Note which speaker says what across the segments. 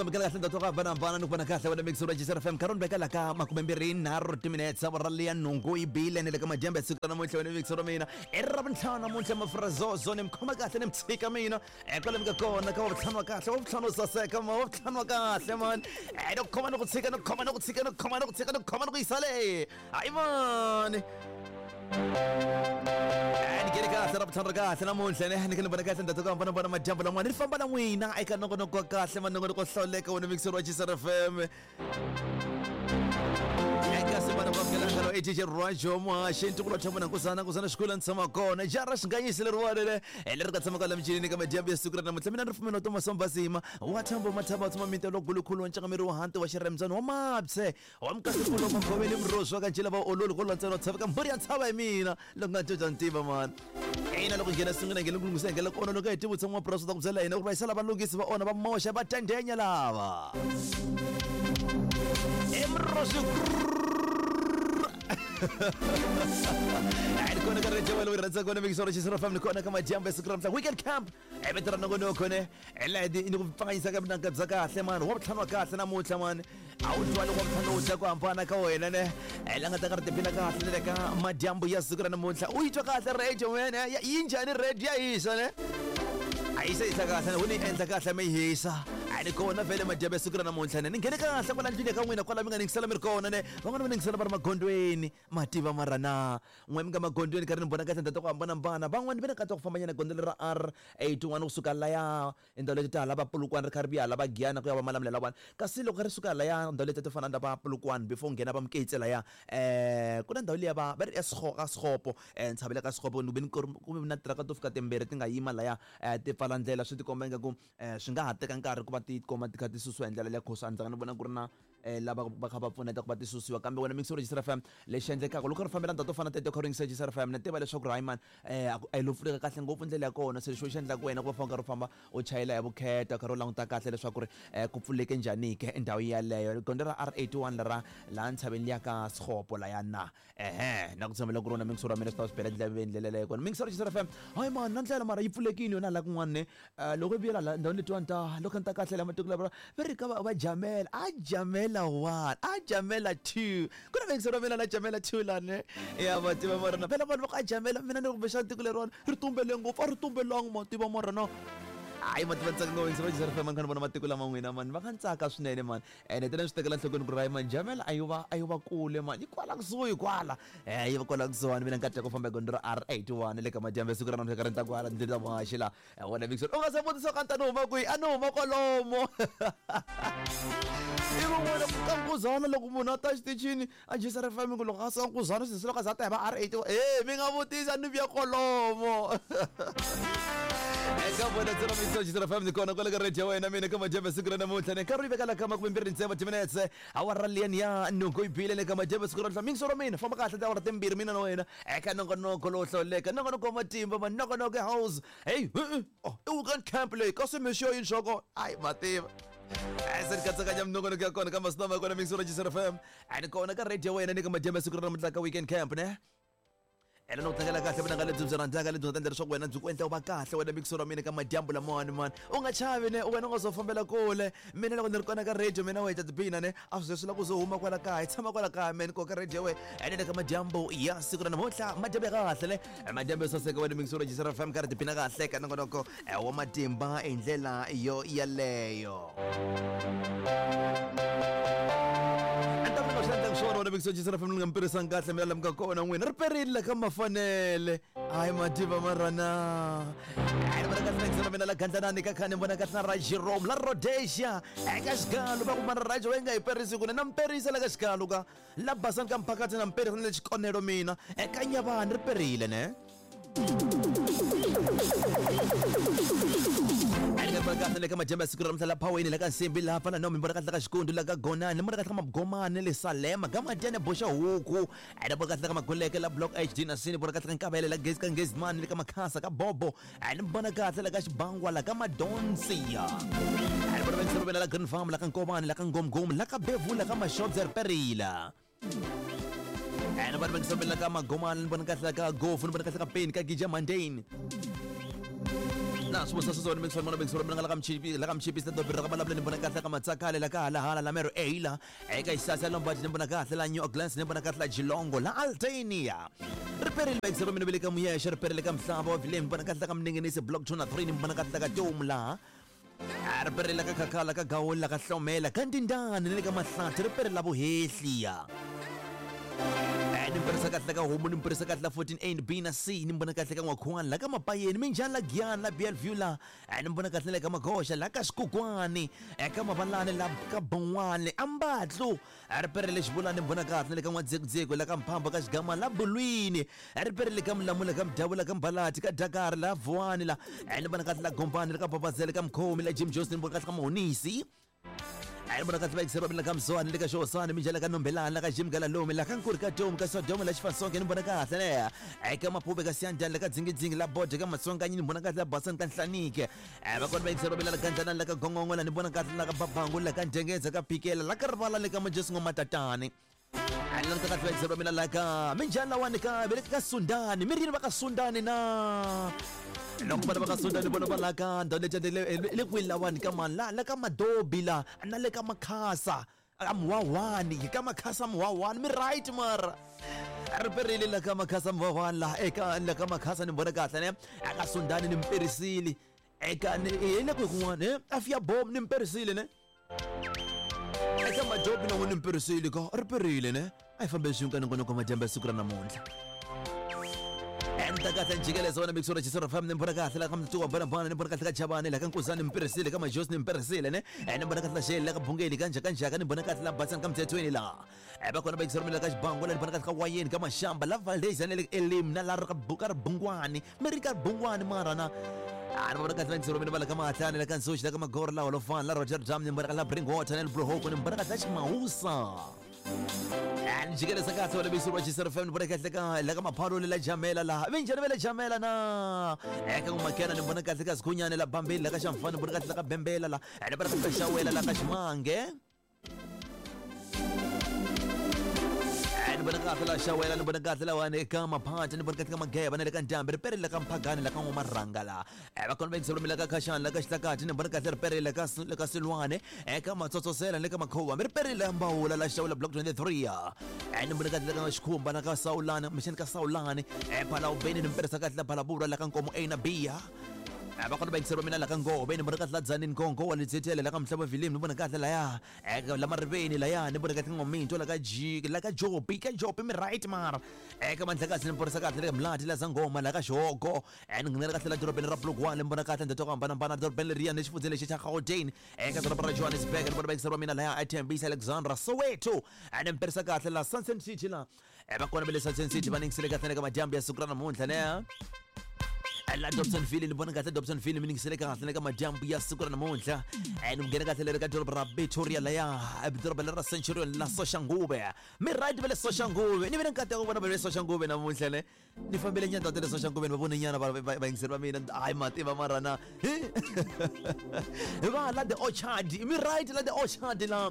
Speaker 1: Amukela kahle ndhawu to hambanahambana ni ku vona kahle wena mixi ra Jisr FM nkarhi ni veka la ka 27 timinetse awara liya nhungu yi bile ni le ka madyambu ya siku ra namuntlha wena mixi ra mina i ra vuntlhanu namuntlha mafrazozo ni mi khoma kahle ni mi tshika mina kwale mi nga kona ka wavutlhanu wa kahle wavutlhanu wo saseka ma wavutlhanu wa kahle mani ni ku khoma ni ku tshika ni ku khoma ni ku tshika ni ku khoma ni ku tshika ni ku khoma ni ku yisa le hayi mani ni kele kahle ra vutlhanu ra kahle namuntlha ne ni khe ni vona kahle ndhawu to hambanahambana madyambu lan'wana ni famba na n'wina eka nongonoko wa kahle manongonoko wo hlawuleka wona mixer wa Chisar FM eka sivana kwamukelangalo i DJ Rajo Muhaxi ntukulu wa Thambana Nkosana Nkosana Xikwela ni tshama kona jara xinganyisi leriwani le leri nga tshamaka la michini ka madyambu ya siku ra namuntlha mina ni ripfumelo Thomas Mbazima wa Thambo Mathamba wa tshama mintelo lokulukulu wa ncangameri wa hanti wa xirhembyana wa mabye wa mukasikulo magoveli muroswi wa kancila va ololi ko lantsela tshaveka mbhuri ya ntshava hi mina loko nga dya ntiva mani ina loko nghena sungula nghena ku lunghisa nghena kona loko hi tivutisa n'wamapurasi u ta ku byela hina ku ri va yisela valunghisi va ona va moxa va tendenya lava emuroswi ni kona ka radio wena u rhandza kona mikisoro xisoro fam ni kona ka madyambu ya siku ra mhla weekend camp i vito ra nongonoko ne hi ni ku pfanganyisa ka vunanga bya kahle mani wa vutlhanu wa kahle namuntlha mani a wu twali wa vutlhanu wu dya ku hambana ka wena ne hi la nga ta ka ri tiphina kahle ni le ka madyambu ya siku ra namuntlha u yi twa kahle radio wena yi njhani radio ya hisa ne a yi se hisa kahle wu ni endla kahle mi hisa a ni kona vhele madyambu ya siku ra namuntlha ne ni nghene kahle kwala ndlwini ka n'wina kwala mi nga ningisela mi ri kona ne van'wana va ningisela va ri magondweni mativa mara na N'we mi nga magondzweni karhi ni vona ka tindhawu ta ku hambanahambana. Van'wani va na nkateko wa ku fambanyana gondzo leri ra R81 kusuka laya tindhawu leti ta hala va Polokwane ri kha ri vuya hala va Giyani ku ya va Malamulele lawani. Kasi loko ri suka laya ndhawu letiya to fana na va Polokwane before u nghena va Moketse laya ku na ndhawu liya va va ri ka Sekgopo ntshava le ka Sekgopo ni ve ni ku ve na tiraka to fika timbirhi ti nga yima laya ti pfala ndlela swi tikomba ingaku swi nga ha teka nkarhi ku va ti kuma ti kha ti susiwa hi ndlela liya coz a ni zanga ni vona ku ri na lava va kha va pfuneta ku va ti susiwa kambe wena mixi register FM lexi endlekaka loko ri fambela ndhawu to fana teto kha ri yingisa Register FM na tiva leswaku ri hayi mani a yi lo pfuleka kahle ngopfu ndlela ya kona se lexi xi endlaka wena ku va famba karhi u famba u chayela hi vukheta karhi u languta kahle leswaku ri ku pfuleke njhani ke ndhawu yeleyo gondzo ra R81 lera laha ntshaveni liya ka Sekgopo laya na Ehe, na ku tshembela ku ri wona mixer wa mina swi ta swi bela ndleveni ndlela leyo kona. Mixer Jisr FM. Hayi mani, na ndlela mara yi pfulekile yona la kun'wana ne. Loko yi vuyela la ndhawini letiwani ta loko ni ta kahle la matiko lava va ri ka va jamela, a jamela 1, a jamela 2. Ku na mixer wa mina la jamela 2 la ne. Ya va tiva mara na phela vanhu va ku a jamela mina ni ri kumbexana tiko leriwani ri tumbele ngopfu, a ri tumbelanga ma tiva mara na. Hayi ma tiva ni tsaka ngopfu Mixer Jisr FM ni kha ni vona matiko lama n'wina mani va kha ni tsaka swinene mani. Ene tele ni swi tekela enhlokweni ku ri hayi mani jamela a yo va a yo va kule mani yi kwala kusuhi kwala yi va kwala kusuhani mina nkateko ku famba hi gondzo ra R81 le ka madyambu ya siku ra namuntlha ka ri ni ta kwala ndzi ta muhaxi la wena Vixen u nga se vutisa ka ni ta ni huma kwihi a ni huma kwalomo i van'wana ku ka nkuzana loko munhu a ta xitichini a jisa ri faming loko a suka nkuzana swi loko a za a ta hi va R81 e mi nga vutisa ni vuya kwalomo eka vona tsena mixo xitsena fm ni kona kwale ka radio wena mina ka madyambu siku ra namuntlha ni nkarhi yi veka la ka makumembirhi ntsevu timinetse awara liyani ya nhungu yi bile le ka madyambu siku ra namuntlha mixo ra mina famba kahle tiawara timbirhi mina na wena eka nongonoko lowo hlawuleka nongonoko wa matimba manongonoko ya house hey oh i weekend camp leyi kasi mixo yini xoko ayi mativa se ni katsakanya minongonoko ya kona ka masiku ya kona mixo ra Jisr FM a ni kona ka radio wena ni ka madyambu ya siku ra namuntlha ka weekend camp ne ene no tlangela kahle vunanga lebyi byi rhandzaka lebyi nga ta endla leswaku wena byi ku endla u va kahle wena mixo ra mina ka madyambu lamawani mani u nga chavi ne wena u nga zo fambela kule mina loko ni ri kona ka radio mina wa hi ta tiphina ne a swi ze swi lava ku ze huma kwala kaya hi tshama kwala kaya meni ko ka radio we ene le ka madyambu ya siku ra namuntlha madyambu ya kahle ne madyambu yo saseka wena mixo ra Jisr FM ka ri tiphina kahle ka nongonoko wa matimba hi ndlela yo yaleyo swona wena mikso jisra family nga mpirisang kahle mi lamuka kona n'wina ri perile la ka mafanele hayi mativa marana hayi vona kahle na mina la gandlanani ka khani vona kahle na ra Jerome la Rhodesia eka xigalo va ku mara rajo wa nga hi perisi ku na mperisa la ka xigalo ka la basani ka mphakathi na mperisa na le xikonelo mina eka nyavani ri perile ne kahle le ka majembe ya siku ra namuntlha la phaweni la ka nsimbi laha fana no mi vona kahle ka xikundu la ka gonani mi vona kahle ka magomani le salema ka madyane boxa huku ene vona kahle ka magoleke la block hd na sini vona kahle ka nkavele la gezi ka ngezimani le ka makhasa ka bobo ene vona kahle la ka xibangwa la ka madonsiya ene vona va la green farm la ka nkovani la ka ngomgomu la ka bevula ka mashobza riperila ene vanhu va ngisambela ka magomani ni vona kahle ka gofu ni vona kahle ka peni ka gija mandane Na swi swi wena mixo mona mixo mina la ka mchipi la ka mchipi se dobira ka malavula ni vona kahle ka matsakale la ka hala hala la mero eila eka isasa Lombard ni vona kahle la New Orleans ni vona kahle la Geelong la Altania riperile va mina vele ka Muyexe riperile ka Mhlava wa Vilem ni vona kahle ka Mninginisi block 2 na 3 ni vona kahle ka Tomu laha riperile ka Khakhala ka Gawula ka Hlomela ka Ndindani ni le ka Mahlathi riperile la Vuhehliya ni mpirisa kahle ka homu ni mpirisa kahle la 14 A ni B na C ni mbona kahle ka N'wakhuwani la ka Mapayeni minjhani la Giyani la Bellevue la ni mbona kahle le ka Magoxa la ka Xikukwani eka Mavalani la ka Bon'wani Ambatlu riperile Xivulani ni mbona kahle le ka N'wadzekudzeko la ka Mphamba ka Xigama la Bulwini riperile ka Mulamula ka Mudavula ka Mbalati ka Dakar la Vuwani la ni mbona kahle la Gombani la ka Babazele ka Mkhomi la Jim Johnson ni mbona kahle ka Mahonisi ni vona kahle vayingiseri va mina ka Mzwani le ka Xihosani minjhani la ka Nombelani la ka Jim Galalomi la ka Nkuri ka Tomu ka Sodoma la Xifansonke ni vona kahle ne eka Maphube ka Siyandani la ka Dzingidzingi la Bode ka Matsonganyi ni vona kahle la Basani ka Nhlanike va kona vayingiseri va mina la ka Ndlanani la ka Gongongo la ni vona kahle la ka Babangu la ka Ndengeza ka Phikela la ka Rivala le ka Majesu Matatani languta kahle vayingiseri va mina la ka minjhani lawani ka ve le ka Sundani mi ri yini va ka Sundani na loko vana va ka Sundani vona va la ka ndhawu leti le kwihi lawani ka mani la la ka Madobi la na le ka Makhasa a Muhwahwani hi ka Makhasa Muhwahwani mi right mara riperile la ka Makhasa Muhwahwani la eka la ka Makhasa ni vona kahle ne aka Sundani ni mperisile eka ni hi le kwihi kun'wana e afiya bom ni mperisile ne eka Madobi na n'wini mperisile ka riperile ne a hi fambe swin'we ka nongonoko madyambu ya siku ra namuntlha endla kahle njhikelezo wena mixo ra fam ni mbona kahle la ka mtuwa bana bana ni mbona kahle ka Chavani la ka Nkuzani mperisile ka Majosi ni mperisile ne ni mbona kahle la Shele la ka Bungeli ka Njhaka Njhaka ni mbona kahle la Basani ka Mthethweni la va kona va yingisela ka Xibango la ni mbona kahle ka Wayeni ka Mashamba la Valdez na le Elim na la ka Buka Ribungwani mi ri ka Ribungwani mara na ni vona kahle va yingisela mina va la ka Mahatlani la ka Nsoxi la ka Magoro la Holofani la Rotterdam ni mbona kahle la Bringwater na le Bluhoko ni mbona kahle la Ximawusa ni jikeleza kahle wena bisi wa Chisero FM ni vona kahle ka la ka Maphalole la Jamela la vinjhani va le Jamela na eka N'wamakena ni vona kahle ka Sikhunyane la Bambeni la ka Xamfani ni vona kahle la ka Bembela la ni vona kahle ka Xawela la ka Ximange ni vona kahle la Xawela ni vona kahle lawani eka Maphata ni vona kahle ka Mageba na le ka Ndhambi riperile ka Mphagani la ka N'wamarhanga la va kona va yingisela la ka Khashani la ka Xihlakati ni vona kahle riperile ka le ka Silwane eka Matsotsosela ni le ka Makhuva mi riperile Mbawula la Xawula block 23 ya ni vona kahle la ka Xikhumba na ka Sawulani mixani ka Sawulani Phalawubeni ni mperisa kahle la Phalabura la ka Nkomo A na B ya va kona va yingisela mina la ka Ngove ni vona kahle la Dzanini Nkongo wa Letshetele la ka Mhlava Vilimi ni vona kahle laya la Mariveni laya ni vona kahle N'waminto la ka G la ka Jopi ka Jopi mi right mara eka Mandlakazi ni porisa kahle le ka Mlati la Zangoma la ka Xihogo ni nghenela kahle la dorobeni ra Polokwane ni vona kahle ndhawu to hambanahambana dorobeni leriya ni xifundzeni lexi xa Gauteng eka doroba ra Johannesburg ni vona va yingisela mina laya eThembisa Alexandra Soweto ni mperisa kahle la Sunset City la va kona va le Sunset City va ni yingisele kahle ka madyambu ya siku ra namuntlha ne la Dobsonville ni vona kahle Dobsonville mi ningisele kahle le ka madyambu ya siku ra namuntlha ni nghena kahle leri ka doroba ra Pretoria laya doroba leri ra Centurion la Soshanguve mi right va le Soshanguve ni ve na nkateko vona va le Soshanguve namuntlha ne ni fambile nyana ndhawu ta le Soshanguve ni va vone nyana vayingiseri va mina hayi mativa mara na va la the Orchard mi right la the Orchard la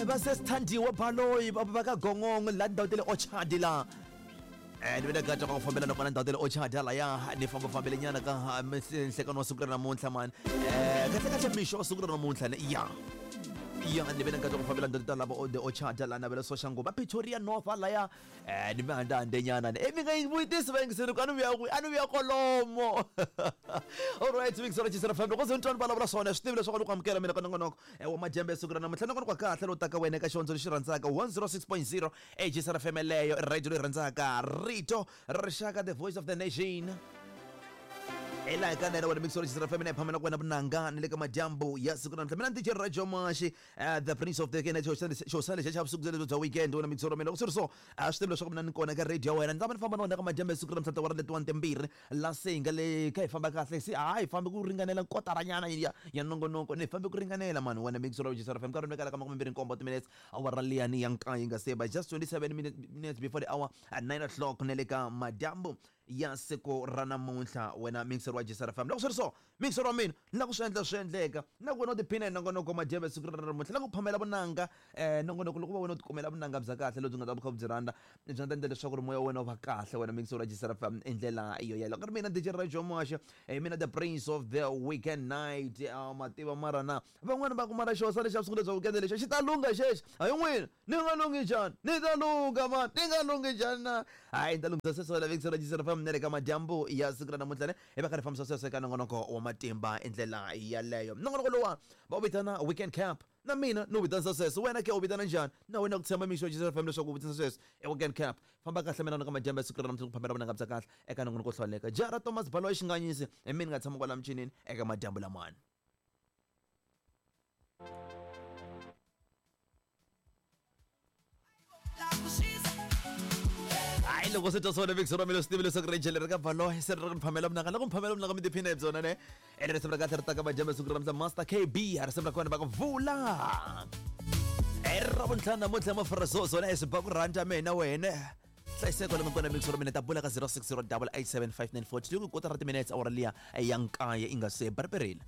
Speaker 1: va se Sithandiwe Baloyi va ka Gongongo la ndhawu ta le Orchard la ni ve na nkateko wa ku fambela na kona ndhawu ta le Orchard halaya ni fambafambele nyana ka nhlekani wa siku ra namuntlha mani kahle kahle mixo wa siku ra namuntlha ne ya ya ni ve na nkateko wa ku fambela ndhawu ta lava the Orchard la na ve le Soshanguve Pretoria North halaya ni mi handahande nyana ne mi nga yi vutisi vayingiseri ku a ni vuya kwihi a ni vuya kolomo alright vuyingiselo Chisero FM loko ze ni twa ni vulavula swona swi tivi leswaku ni ku amukela mina ka nongonoko wa madyambu ya siku ra namuntlha nongonoko wa kahle lowu taka wena eka xihondzo lexi rhandzaka 106.0 Chisero FM leyo i radio leyi rhandzaka rito ra rixaka, the voice of the nation. Ela eka nene wena mixology Chisero FM na hi phamela ku wena vunanga ni le ka madyambu ya siku ra namuntlha mina ni DJ Radio Mashi the prince of the kene xo lexi xa vusiku lebyi bya weekend wena mixolo mina loko swi ri so a swi tivi leswaku mina ni kona ka radio ya wena ni ta va ni famba na wena ka madyambu ya siku ra namuntlha tiawara letiwani timbirhi la se hi nga le kha hi famba kahle se hayi hi fambe ku ringanela kotaranyana ya ya nongonoko ni fambe ku ringanela mani wena mixology Chisero FM nkarhi ni vekela ka 27 timinetse awara liyani ya nkaye yi nga se ba just 27 minutes before the hour at 9 o'clock ne le ka madyambu. Ya siku ra namuntlha wena mixer wa Jisara FM. Loko swi ri so, mixer wa mina, ni la ku swi endla swi endleka. Na ku wena u tiphina hi nongonoko wa madyambu ya siku ra namuntlha, na ku phamela vunanga nongonoko loko va wena u tikumela vunanga bya kahle lebyi nga ta va kha byi rhandza, byi nga ta endla leswaku ri moya wa wena wu va kahle wena mixer wa Jisara FM hi ndlela yo yeleyo. Ku ri mina DJ Rajo Moasha, hi mina the prince of the weekend night. Ma tiva mara na van'wani va ku mara xo sale xa vusiku lebya weekend lexi xi ta lungha xexi. Hayi n'wina. Ni nga lunghi njhani? Ni ta lungha mani, ni nga lunghi njhani na? Hayi, ni ta lunghisa sweswo la vekisela jisela fam na le ka madyambu ya siku ra namuntlha ne hi va kha ri fambisa sweswo eka nongonoko wa matimba hi ndlela yaleyo. Nongonoko lowa va wu vitana Weekend Cap. Na mina ni wu vitanisa sweswo, wena ke u vitana njhani? Na wena ku tshemba mixo jisela fam leswaku u vitanisa sweswo i Weekend Cap. Famba kahle mina na ka madyambu ya siku ra namuntlha ku phamela vunanga bya kahle eka nongonoko wo hlawuleka. Jara Thomas Baloyi Xinganyisi hi mina ni nga tshama kwala michinini eka madyambu lamani. Hayi, loko se twa swona vekisi ra mina, swi tivi leswaku ri jele ri ka Baloyi se ri ri phamela vunanga. Loko mi phamela vunanga mi tiphina hi byona ne. Ene risimu ra kahle ri taka madyambu ya siku ra namuntlha, Master KB, risimu ra kona va ku vula. I ra vuntlhanu namuntlha mafarazozo na swi ba ku rhandza mina wena. Hlayiseko lomu kona mixo ra mina ta bula ka 060 887 5942 ku kotara timinutes awara liya ya nkaye i nga se ba ri perile.